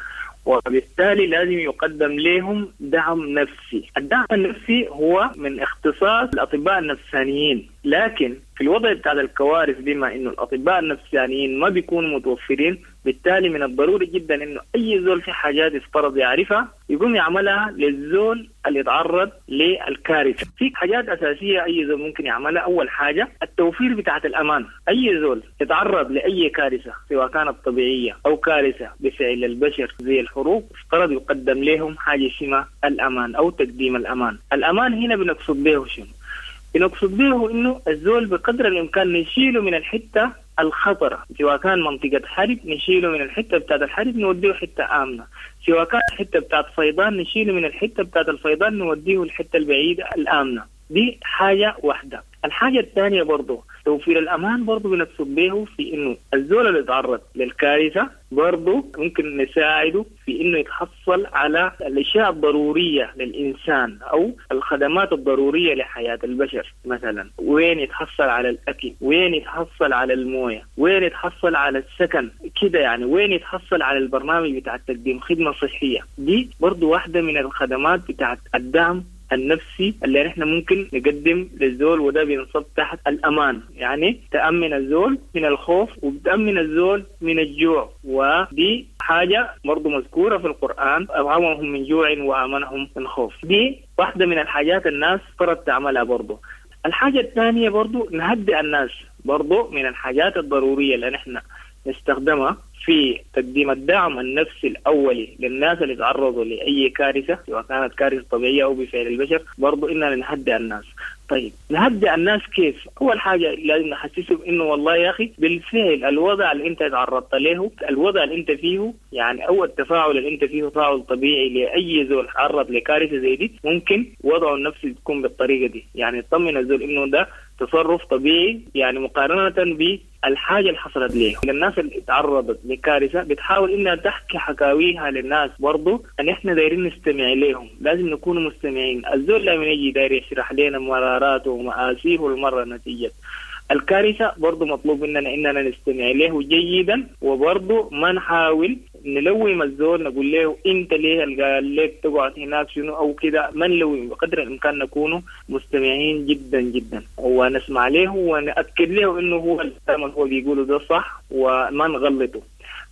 وبالتالي لازم يقدم لهم دعم نفسي. الدعم النفسي هو من اختصاص الأطباء النفسانيين، لكن في الوضع بتاع الكوارث بما إنه الأطباء النفسانيين ما بيكونوا متوفرين، بالتالي من الضروري جدا إنه أي زول في حاجات يفترض يعرفها يقوم يعملها للزول اللي يتعرض للكارثة. في حاجات أساسية أي زول ممكن يعملها. أول حاجة التوفير بتاعت الأمان. أي زول يتعرض لأي كارثة سواء كانت طبيعية أو كارثة بفعل البشر زي الحروب، افترض يقدم لهم حاجة اسمها الأمان أو تقديم الأمان. الأمان هنا بنقصد به شنو؟ بنقصد به إنه الزول بقدر الإمكان نشيله من الحتة الخطرة، سواء كان منطقة حرب نشيله من الحتة بتاعت الحرب نوديه حتة آمنة، سواء كان حتة بتاعت فيضان نشيله من الحتة بتاعت الفيضان نوديه الحتة البعيدة الآمنة. دي حاجة واحدة. الحاجة الثانية برضو توفير الأمان برضو بنقصد به في إنه الزول اللي يتعرض للكارثة برضو ممكن نساعده في إنه يتحصل على الأشياء الضرورية للإنسان أو الخدمات الضرورية لحياة البشر. مثلا وين يتحصل على الأكل، وين يتحصل على الموية، وين يتحصل على السكن كده يعني، وين يتحصل على البرنامج بتاع تقديم خدمة صحية. دي برضو واحدة من الخدمات بتاعت الدعم النفسي اللي نحن ممكن نقدم للزول، وده بينصب تحت الأمان، يعني تأمن الزول من الخوف وبتأمن الزول من الجوع، ودي حاجة برضو مذكورة في القرآن، أطعمهم من جوع وآمنهم من خوف. دي واحدة من الحاجات الناس فرض تعملها برضو. الحاجة الثانية برضو نهدئ الناس، برضو من الحاجات الضرورية اللي نحن نستخدمها في تقديم الدعم النفسي الأولي للناس اللي تعرضوا لأي كارثة سواء كانت كارثة طبيعية أو بفعل البشر، برضو إننا نهدئ الناس. طيب نهدئ الناس كيف؟ أول حاجة لازم نحسسهم إنه والله يا أخي بالفعل الوضع اللي أنت تعرضت له، الوضع اللي أنت فيه يعني، أو التفاعل اللي أنت فيه تفاعل طبيعي لأي زول تعرض لكارثة زي دي، ممكن وضعه النفسي تكون بالطريقة دي، يعني تطمن الزول إنه ده تصرف طبيعي يعني مقارنة بالحاجة اللي حصلت ليه. الناس اللي تعرضت لكارثة بتحاول إنها تحكي حكاويها للناس برضو، أن إحنا دايرين نستمع لهم، لازم نكون مستمعين. الزول لما يجي داير يشرح لنا مراراته ومآسيه المرة نتيجة الكارثة برضو مطلوب مننا إننا نستمع له جيدا، وبرضو ما نحاول نلوم الزول نقول له أنت ليه قال لك تقعد هناك شنو أو كده، ما نلوم، بقدر الإمكان نكون مستمعين جدا جدا ونسمع له ونأكد له إنه هو الكلام اللي هو بيقوله ده صح وما نغلطه.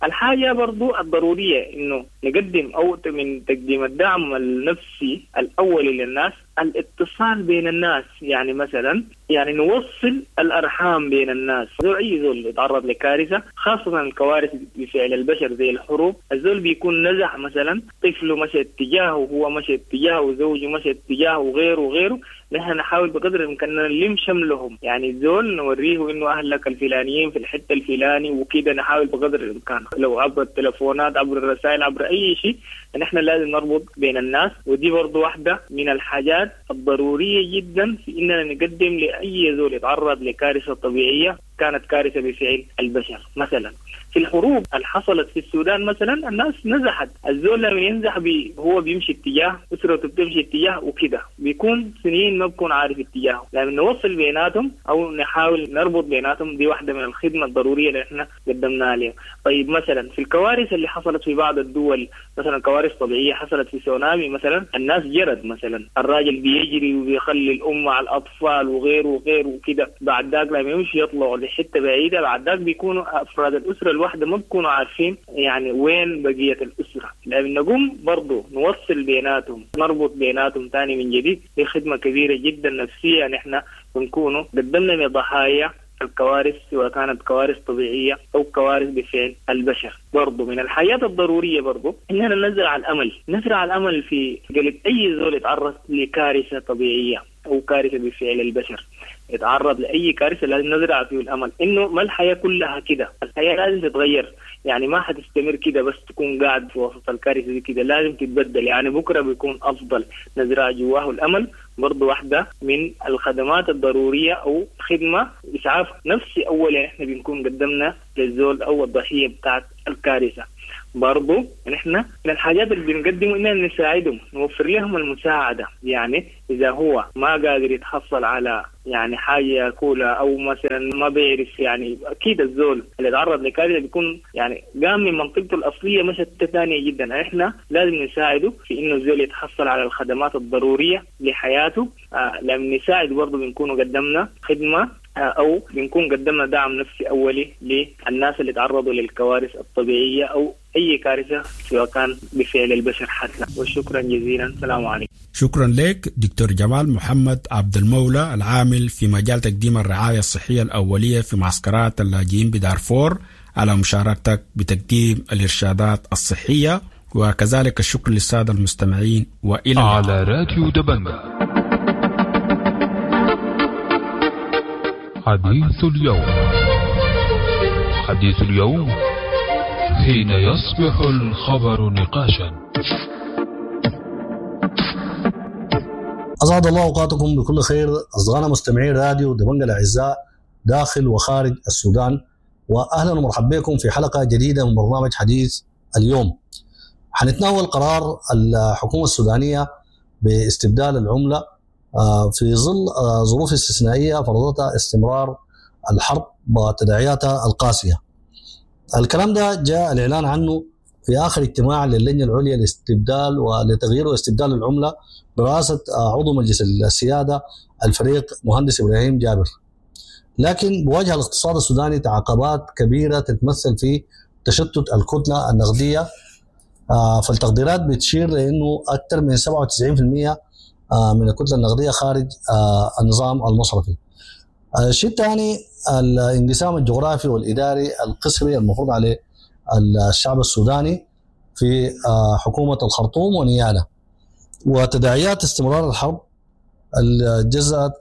الحاجة برضو الضرورية إنه نقدم أو من تقديم الدعم النفسي الأولي للناس الاتصال بين الناس، يعني مثلا يعني نوصل الأرحام بين الناس. زول أي زول يتعرض لكارثة خاصة الكوارث بفعل البشر زي الحروب، الزول بيكون نزح مثلا طفله مشى اتجاهه وهو مشى اتجاهه وزوجه مشى اتجاهه وغيره وغيره. نحن نحاول بقدر الإمكان نلم شملهم، يعني الزول نوريه إنه أهلك الفلانيين في الحتة الفلاني وكده، نحاول بقدر الإمكان لو عبر التلفونات عبر الرسائل عبر أي شيء، نحن لازم نربط بين الناس. ودي برضو واحدة من الحاجات الضرورية جدا في إننا نقدم لأي زول يتعرض لكارثة طبيعية كانت كارثة بفعل البشر. مثلا في الحروب اللي حصلت في السودان مثلا الناس نزحت، الزول لما ينزح بي هو بيمشي اتجاه، أسرته بتمشي اتجاه وكده، بيكون سنين ما بكون عارف اتجاهه. لما نوصل بيناتهم أو نحاول نربط بيناتهم دي واحدة من الخدمة الضرورية اللي احنا قدمناها لهم. طيب مثلا في الكوارث اللي حصلت في بعض الدول، مثلا كوارث طبيعية حصلت في سونامي مثلا، الناس جرت مثلا، الراجل بيجري وبيخلي الأم على الأطفال وغيره وغيره وكده، بعد ذاك لما يمشي يطلعوا لحتة بعيدة، بعد ذاك بيكونوا أفراد الأسرة الواحدة ما بيكونوا عارفين يعني وين بقية الأسرة. لأن نقوم برضو نوصل بيناتهم، نربط بيناتهم تاني من جديد، دي خدمة كبيرة جدا نفسية نحن بنكونوا قدمنا لضحايا الكوارث سواء كانت كوارث طبيعية أو كوارث بفعل البشر. برضو من الحياة الضرورية برضو إننا نزرع الأمل، نزرع الأمل في قلب أي زول يتعرض لكارثة طبيعية أو كارثة بفعل البشر، يتعرض لأي كارثة لازم نزرع فيه الأمل إنه ما الحياة كلها كده، الحياة لازم تتغير، يعني ما حتستمر كده بس تكون قاعد في وسط الكارثة دي كده، لازم تتبدل، يعني بكرة بيكون أفضل. نزرع جواه الأمل برضو واحدة من الخدمات الضرورية أو خدمة إسعاف نفسي أولا إحنا بنكون قدمنا للزول أو الضحية بتاعت الكارثة. برضو نحن من الحاجات اللي بنقدمه إننا نساعدهم، نوفر لهم المساعدة، يعني إذا هو ما قادر يتحصل على يعني حاجة ياكلها أو مثلا ما بيعرف، يعني أكيد الزول اللي تعرض لكارثة بيكون يعني قام من منطقته الأصلية مشت ثانية جدا، إحنا لازم نساعده في إنه الزول يتحصل على الخدمات الضرورية لحياته. آه لما نساعد برضو بنكون قدمنا خدمة أو بنكون قدمنا دعم نفسي أولي للناس اللي تعرضوا للكوارث الطبيعية أو أي كارثة سواء كان بفعل البشر حتى. وشكرا جزيلا، السلام عليكم. شكرا لك دكتور جمال محمد عبد المولى العامل في مجال تقديم الرعاية الصحية الأولية في معسكرات اللاجئين بدارفور على مشاركتك بتقديم الإرشادات الصحية، وكذلك الشكر للسادة المستمعين. وإلى على راديو دبنجا حديث اليوم. حديث اليوم حين يصبح الخبر نقاشا. أسعد الله أوقاتكم بكل خير أصدقائنا مستمعين راديو دبنجا الأعزاء داخل وخارج السودان، وأهلا ومرحبا بكم في حلقة جديدة من برنامج حديث اليوم. حنتناول قرار الحكومة السودانية باستبدال العملة في ظل ظروف استثنائية فرضتها استمرار الحرب وتداعياتها القاسية. الكلام ده جاء الإعلان عنه في آخر اجتماع للجنة العليا لاستبدال ولتغيير واستبدال العملة برئاسة عضو مجلس السيادة الفريق مهندس إبراهيم جابر. لكن بواجه الاقتصاد السوداني تعاقبات كبيرة تتمثل في تشتت الكتلة النقدية، فالتقديرات بتشير لأنه أكثر من سبعة وتسعين بالمئة من الكتلة النقدية خارج النظام المصرفي. الشيء الثاني الانقسام الجغرافي والإداري القسري المفروض عليه الشعب السوداني في حكومة الخرطوم ونيالا، وتداعيات استمرار الحرب اللي جزأت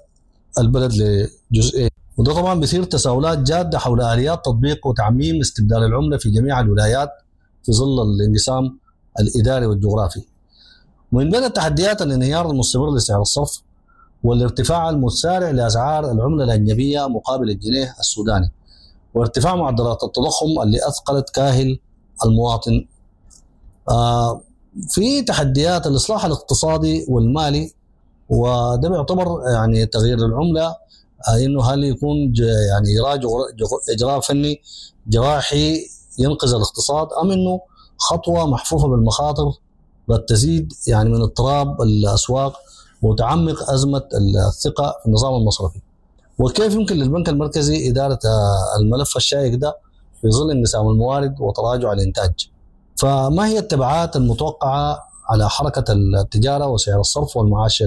البلد لجزئين. وده طبعا بيثير تساؤلات جادة حول آليات تطبيق وتعميم استبدال العملة في جميع الولايات في ظل الانقسام الإداري والجغرافي. ومن بين التحديات الانهيار المستمر لسعر الصرف والارتفاع المتسارع لأسعار العملة الأجنبية مقابل الجنيه السوداني، وارتفاع معدلات التضخم اللي أثقلت كاهل المواطن. آه في تحديات الإصلاح الاقتصادي والمالي، وده بيعتبر يعني تغيير العملة آه إنه هل يكون يعني إجراء إجراء فني جراحي ينقذ الاقتصاد، أم إنه خطوة محفوفة بالمخاطر قد تزيد يعني من اضطراب الأسواق وتعمق أزمة الثقة في النظام المصرفي. وكيف يمكن للبنك المركزي إدارة الملف الشائك ده في ظل انقسام الموارد وتراجع الإنتاج؟ فما هي التبعات المتوقعة على حركة التجارة وسعر الصرف والمعاش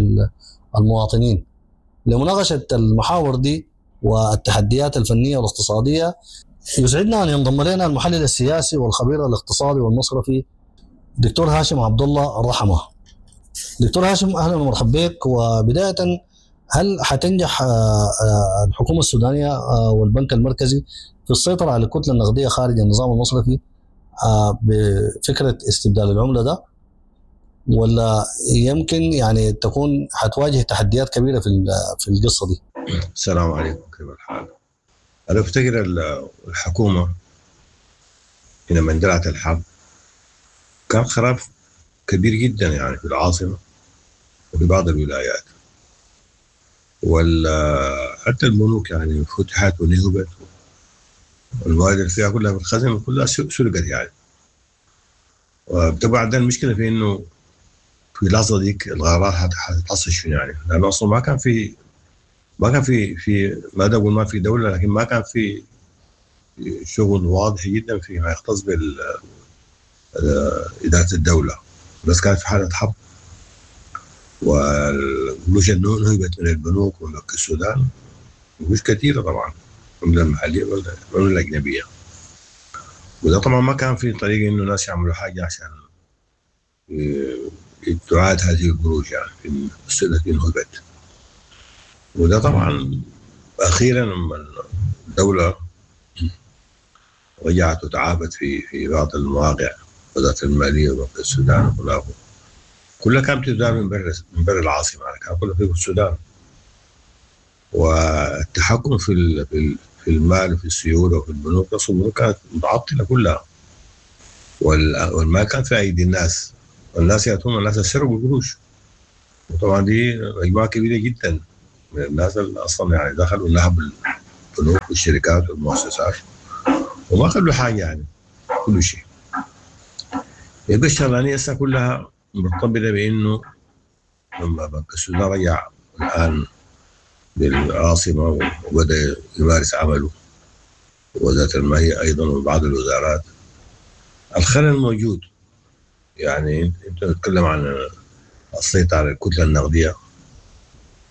المواطنين؟ لمناقشة المحاور دي والتحديات الفنية والاقتصادية يسعدنا أن ينضم لنا المحلل السياسي والخبير الاقتصادي والمصرفي دكتور هاشم عبد الله الرحمة. دكتور هاشم، أهلا ومرحبا بك. وبداية، هل حتنجح الحكومة السودانية والبنك المركزي في السيطرة على الكتلة النقدية خارج النظام المصرفي بفكرة استبدال العملة ده، ولا يمكن يعني تكون حتواجه تحديات كبيرة في في القصة دي؟ السلام عليكم، كيف الحال؟ أنا أفتكر الحكومة حينما اندلعت الحرب كان خراب كبير جدا يعني في العاصمة وفي بعض الولايات، وحتى البنوك يعني فتحت ونهبت، والموارد اللي فيها كلها في الخزنة كلها سرقت يعني. وطبعا ده المشكلة في إنه في اللحظة ديك الغارات حتحصل شنو يعني، لأنه أصلا ما كان في ما كان في في ما أقول ما في دولة، لكن ما كان في شغل واضح جدا فيما يختص بال إدارة الدولة. بس كانت في حالة حرب، والقروش نهبت من البنوك وبنك السودان، قروش كثيرة طبعا، العملة المحلية والعملة الأجنبية. وده طبعا ما كان في طريقة إنه الناس يعملوا حاجة عشان تعاد هذه القروش يعني في السنة التي نهبت. وده طبعا أخيرا لما الدولة رجعت وتعافت في في بعض المواقع، وزارة المالية وبنك السودان وخلافه، كلها كانت بتدار من برا من برا العاصمة يعني، كان كلها في السودان. والتحكم في في المال وفي السيولة وفي البنوك، أصلا البنوك كانت متعطلة كلها، والمال كان في أيدي الناس، والناس يأتون الناس سرقوا القروش. وطبعا دي مجموعة كبيرة جدا من الناس اللي أصلا يعني دخلوا نهبوا البنوك والشركات والمؤسسات وما خلوا حاجة يعني، كل شيء. يبقى الشغلانية هسه كلها مرتبطة بإنه لما بنك السودان رجع الآن للعاصمة وبدأ يمارس عمله، وزارة المالية أيضا وبعض الوزارات، الخلل موجود. يعني أنت تتكلم عن السيطرة على الكتلة النقدية،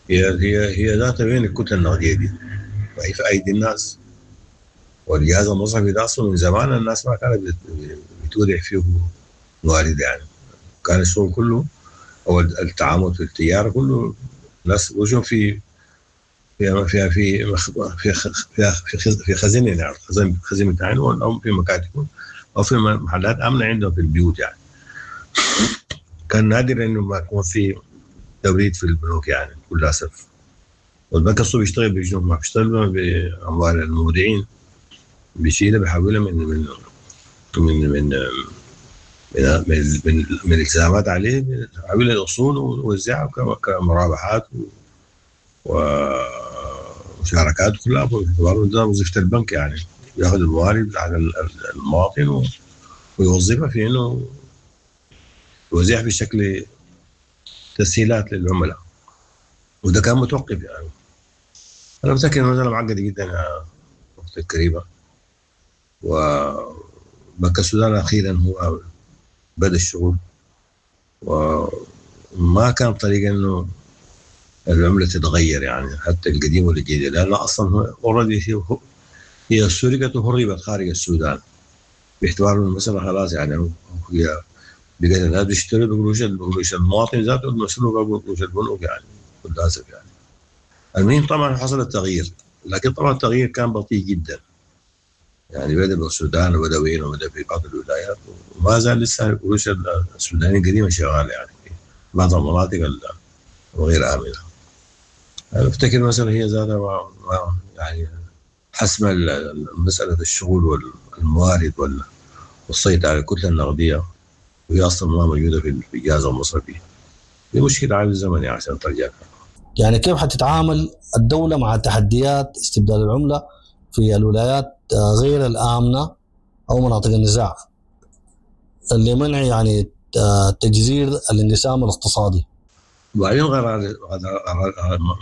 هي هي هي ذات وين الكتلة النقدية دي؟ ما هي في أيدي الناس. والجهاز المصرفي ده أصلا من زمان الناس ما كانت بتودع فيه موارد يعني، كان الشغل كله أو التعامل في التجارة كله الناس وجههم في في في في في في في خزينة يعني، خزين خزينة بتاعهم أو في مكاتبهم أو في محلات آمنة عندهم في البيوت يعني. كان نادر إنه ما يكون في توريد في البنوك يعني بكل أسف. والبنك الصوبي بيشتغل بجنوب، ما بيشتغل بأموال المودعين، بيشيلها بيحولها من من من من من من, من, من الالتزامات عليه، بيحولها الأصول ويوزعها كمرابحات ومشاركات كلها. باعتبار وظيفة البنك يعني، ياخذ الموارد على المواطن ويوظفها في انه يوزعها بشكل تسهيلات للعملاء، وده كان متوقف يعني. انا متاكد انه المسالة معقدة جدا يا اختي الكريمة، وبنك السودان اخيرا هو بدا الشغل، وما كان طريقه انه العملة تتغير يعني حتى القديم والجديد، لان اصلا already هي سرقت وهربت خارج السودان، باعتبار المسالة خلاص يعني هي بقت الناس بيشتروا بقروش بقروش المواطن ذاته المسروقه بقروش البنوك يعني للاسف يعني. المهم طبعا حصل التغيير، لكن طبعا التغيير كان بطيء جدا يعني، بدا بالسودان وبدا وين وبدا في بعض الولايات، وما زال لسه القروش السودانية القديمة شغالة يعني في بعض المناطق الغير امنه. أنا أفتكر مثلا هي ذاتها يعني حسم مسألة الشغل والموارد والسيطرة على الكتلة النقدية، وهي أصلا ما موجودة في الجهاز المصرفي. دي مشكلة عايز زمن يعني عشان ترجع. يعني كيف حتتعامل الدولة مع تحديات استبدال العملة في الولايات غير الآمنة أو مناطق النزاع اللي منع يعني تجزير الانقسام الاقتصادي؟ وبعدين قرار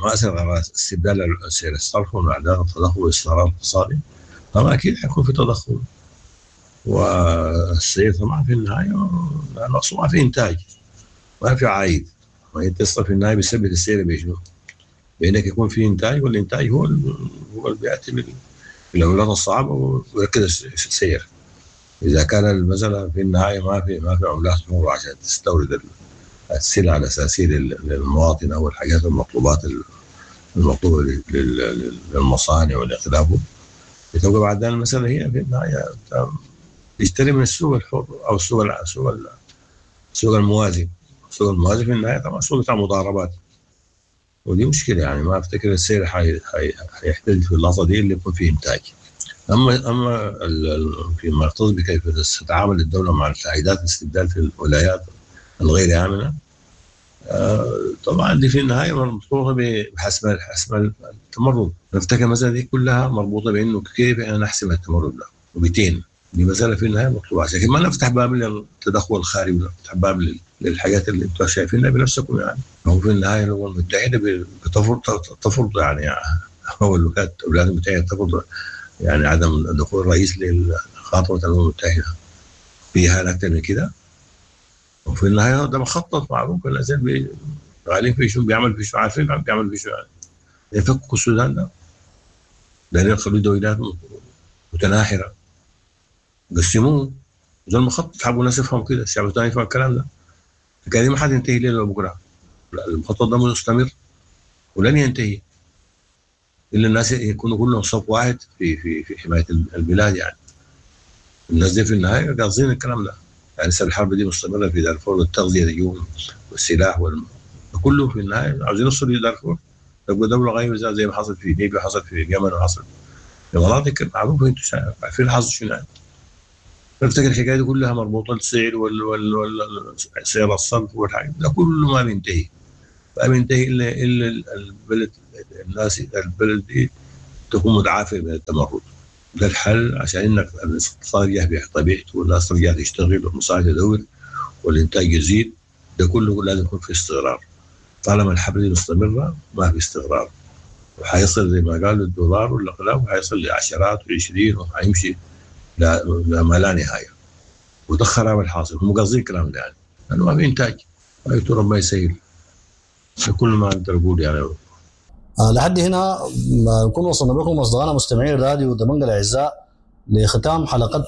مأساة قرار استبدال سعر الصرف ومعدل التضخم والاستقرار الاقتصادي، طبعا أكيد حيكون في تضخم، والسعر طبعا في النهاية نقص، ما في إنتاج، ما في عائد. ما انت في النهاية بيثبت السعر بشنو؟ بانك يكون في انتاج، والانتاج هو هو اللي بياتي بالعملات الصعبة ويركز السعر. اذا كان المسالة في النهاية ما في ما في عملات حره عشان تستورد السلع الاساسية للمواطن او الحاجات المطلوبات المطلوبة للمصانع والاخلاف، بتبقى بعد المسالة هي في النهاية تشتري من السوق الحر او السوق السوق السوق الموازي. السوق الموازي في النهاية طبعا سوق بتاع مضاربات، ودي مشكلة يعني. ما افتكر السعر حيحتل في اللحظة دي اللي يكون فيه انتاج. اما اما فيما يختص بكيف تتعامل الدولة مع التعقيدات الاستبدال في الولايات الغير امنه، آه طبعا دي في النهاية مربوطة بحسم حسم التمرد. نفتكر المسالة دي كلها مربوطة بانه كيف احنا نحسم التمرد ده وبتين. دي مسالة في النهاية مطلوبه عشان ما نفتح باب للتدخل الخارجي ونفتح باب للحاجات اللي انتم شايفينها بنفسكم يعني. هو في النهاية الامم المتحدة بتفرض تفرض يعني هو الولايات الولايات المتحدة تفرض يعني عدم دخول الرئيس لخطوه الامم المتحدة فيها اكثر من كده. وفي النهاية ده مخطط معروف، الناس شغالين في شو بيعمل في شو، عارفين بيعمل في شو يعني. يفكوا السودان ده لان يخلوا دولات متناحره، قسموه ده المخطط. حابوا الناس يفهموا كده، الشعب الثاني يفهم الكلام ده. الحكاية دي ما حتنتهي ليلة بكره، المخطط ده مستمر ولن ينتهي الا الناس يكونوا كلهم صف واحد في في في حماية البلاد يعني. الناس دي في النهاية قاصدين الكلام ده يعني. لسه الحرب دي مستمرة في دارفور، والتغذيه اليوم والسلاح وال... كله في النهاية عاوزين يوصلوا لدارفور تبقى دولة غير زي ما حصل في ليبيا، حصل في اليمن، وحصل في مناطق معروفة انتم عارفين حصل شنو يعني. بفتكر الحكاية دي كلها مربوطة السعر وال وال وال سعر الصرف والحاجات ده كله ما بينتهي، ما بينتهي الا الا البلد الناس البلد دي تكون متعافيه من التمرد. ده الحل عشان انك الاقتصاد يرجع بطبيعته والناس ترجع تشتغل والمصانع تدور والانتاج يزيد. ده كله لازم يكون في استقرار. طالما الحرب دي مستمرة ما في استقرار، وحيصل زي ما قالوا الدولار والاقلام وحيصل لعشرات وعشرين وحيمشي لا ما لا نهاية. وده خراب الحاصل، هم قاصدين الكلام ده يعني، لانه ما في انتاج. غايته ربنا يسهل، كل ما اقدر اقول يعني. آه لحد هنا نكون وصلنا بكم اصدقائنا مستمعين راديو دبنجة الاعزاء لختام حلقتنا.